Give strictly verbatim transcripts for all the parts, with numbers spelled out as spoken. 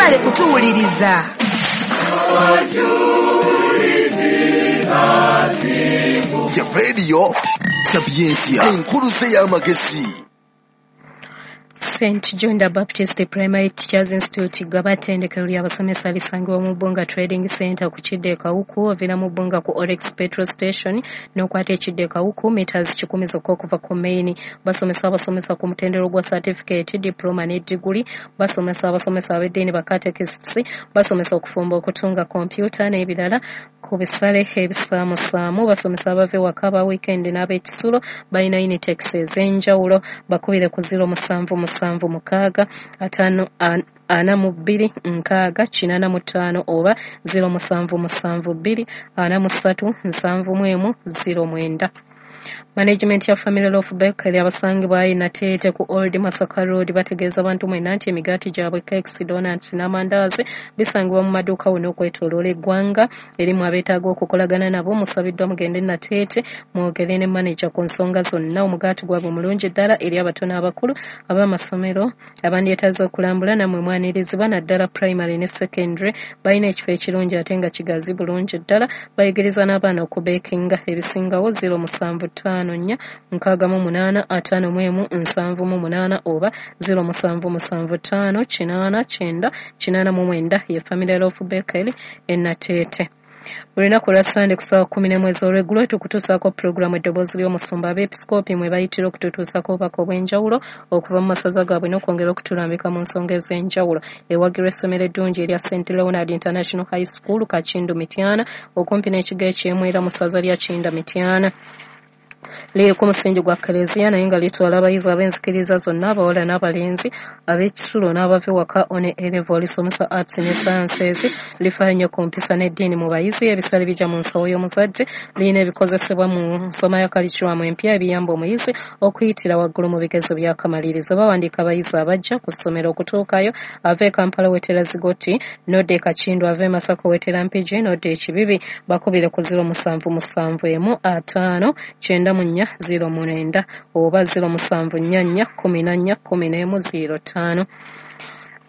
Mwebale kutuwuliriza. Ya Radio Sapientia, enkuluze y'amagezi. Saint John the Baptist Primary Teachers Institute Gaba ttendekero ly'abasomesa lisangibwa mu Bbunga Trading Center ku kidda e Kawuku, oviira mu Bbunga ku Oryx Petrol Station n'okwata ekidda e Kawuku meters kikumi zokka okuva ku main. Basomesa abasomesa ku mutendera gwa certificate, diploma ne diguli. Basomesa abasomesa ab'eddiini, ba catechists, basomesa okufumba, okutunga, kompyuta n'ebirala ku bisale ebisaamusaamu. Basomesa abava ewaka, aba weekend n'ab'ekisulo. Balina Unitex ez'enjawulo. Bakubire ku zero musanvu musanvu mukaaga ataano ana mu bbiri nkaaga kinaana mu ttaano oba zero musanvu musanvu bbiri ana mu ssatu nsanvu mu emu zero mwenda. Management ya Family Loaf Bakery abasangibwa e Nateete ku Old Masaka Road bategeeza abantu mwenna nti emigaati gyabwe, cakes, donuts n'amandaazi bisangibwa mu maduuka wonna okwetooloola eggwanga. Erimu abeetaaga okukolagana nabo, musabiddwa mugende Nateete mwogere ne manager ku nsonga zonna. Omugaati gwabwe mulungi ddala eri abato n'abakulu. Ab'amasomero abandyetaaze okulambula nammwe mwanirizibwa, naddala primary ne secondary. Balina ekifo ekirungi ate nga kigazi bulungi ddala. Bayigiriza n'abaana okubeekinga. Ebisingawo zero musanvu ttaano nnya nkaaga mu munaana ataano mu emu nsanvu mu munaana oba zero musanvu musanvu ttaano kinaana kyenda kinaana mu mwenda. Ye Family Loaf Bakery e Nateete. Buli lunaku lwa Sande ku ssaawa kkumi n'emu ez'olweggulo tukutuusaako pulogulaamu Eddoboozi ly'Omusumba. Abeepisikoopi mwe bayitira okututuusaako obubaka obw'enjawulo okuva mu masaza gaabwe n'okwongera okutulambika mu nsonga ez'enjawulo. Ewagirwa essomero eddungi erya Saint Leonard International High School, Kakindu, Mityana, okumpi n'ekigo eky'Emwera mu ssaza lya Kinda, Mityana. Liri ku musingi gwa Kaleziya naye nga litwala abayizi ab'enzikiriza zonna, abawala n'abalenzi, ab'ekisulo n'abava ewaka. One A level, lisomesa arts ne sciences. Lifaayo nnyo ku mpisa n'eddiini mu bayizi. Ebisale bijja mu nsawo y'omuzadde. Lirina ebikozesebwa mu nsoma ya curriculum empya ebiyamba omuyizi okuyitira waggulu mu bigezo by'akamalirizo. Bawandiika abayizi abajja ku ssomero. Okutuukayo, ava e Kampala wetera Zigoti n'odda e Kakindu, ava e Masaka wetera Mpigi n'odda e Kibibi. Bakubire ku zero musanvu musanvu emu ataano kyenda mu nnya zero mwenda oba zero musanvu nnya nnya kkumi na nnya kkumi n'emu zero ttaano.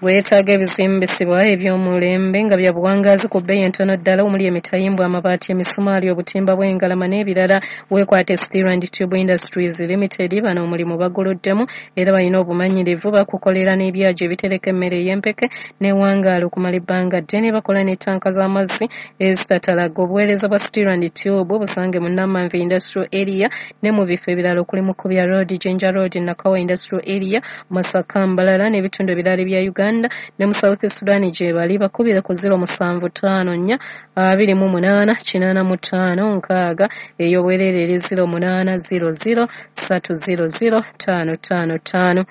Weetaaga ebizimbisibwa eby'omulembe nga bya buwangaazi ku bbeeyi entono ddala, omuli emitayimbwa, amabaati, emisumaali, obutimba bw'engalama n'ebirala, weekwate Steel and Tube Industries Limited. Bano omulimu baguluddemu era balina obumanyirivu. Bakukolera n'ebyagi ebitereka emmere ey'empeke n'ewangaala okumala ebbanga ddene. Bakola n'ettanka z'amazzi ezitatalaga. Obuweereza bwa Steel and Tube busange mu Namanve Industrial Area ne mu bifo ebirala okuli Mukubya Road, Jinja Road, Nakawa Industrial Area, Masaka, Mbalala n'ebitundu ebirala ebya Uganda ne mu South Sudan gye bali. Bakubire ku zero musanvu ttaano nnya abiri mu munaana kinaana mu ttaano nkaaga. Ey'obwereere eri zero munaana zero zero ssatu zero zero ttaano ttaano ttaano.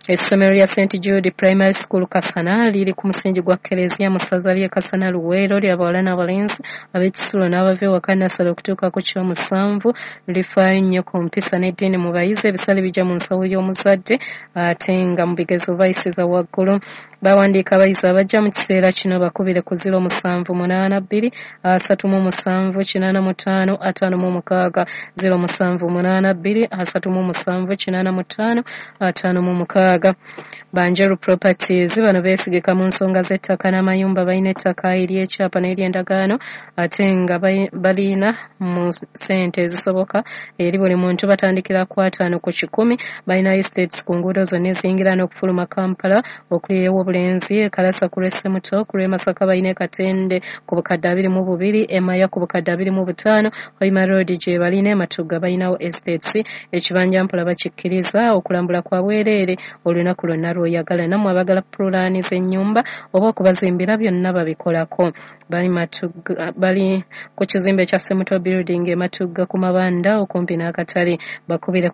Essomero lya Saint Jude Primary School Kasana liri ku musingi gwa Keleziya mu ssaza ly'e Kasana, Luweero. Ly'abawala n'abalenzi, ab'ekisulo n'abava ewaka, nnassale okutuuka ku ky'omusanvu. Lifaayo nnyo ku mpisa n'eddiini mu bayizi. Ebisale bijja mu nsawo y'omuzadde ate nga mu bigezo bayisiza waggulu. Bawandiika abayizi abajja mu kiseera kino. Bakubire ku zero musanvu munaana bbiri asatu mu musanvu kinaana mu ttaano ataano mu mukaaga, zero musanvu munaana bbiri asatu mu musanvu kinaana mu ttaano ataano mu mukaaga. Banjeru Properties bano beesigika mu nsonga z'ettaka n'amayumba. Balina ettaka ery'ekyapa n'ery'endagaano ate nga balina mu ssente ezisoboka eri buli muntu. Batandikira ku ataano ku kikumi. Balina estates ku nguudo zonna eziyingira n'okufuluma Kampala, okuli ew'Obulenzi, e Kalasa ku lw'e Ssemuto, ku lw'e Masaka balina e Katende ku bukadde abiri mu bubiri, e Maya ku bukadde abiri mu butaano, Hoima Road gye balina, e Matugga balinawo estates. Ekibanja mpola bakikkiriza. Okulambula kwa bwereere olunaku lwonna lw'oyagala. Nammwe abagala pulaani z'ennyumba oba okubazimbira, byonna babikolako. Bali Matugga, bali ku kizimbe kya Semuto Building e Matugga ku Mabanda okumpi n'akatale. Bakubire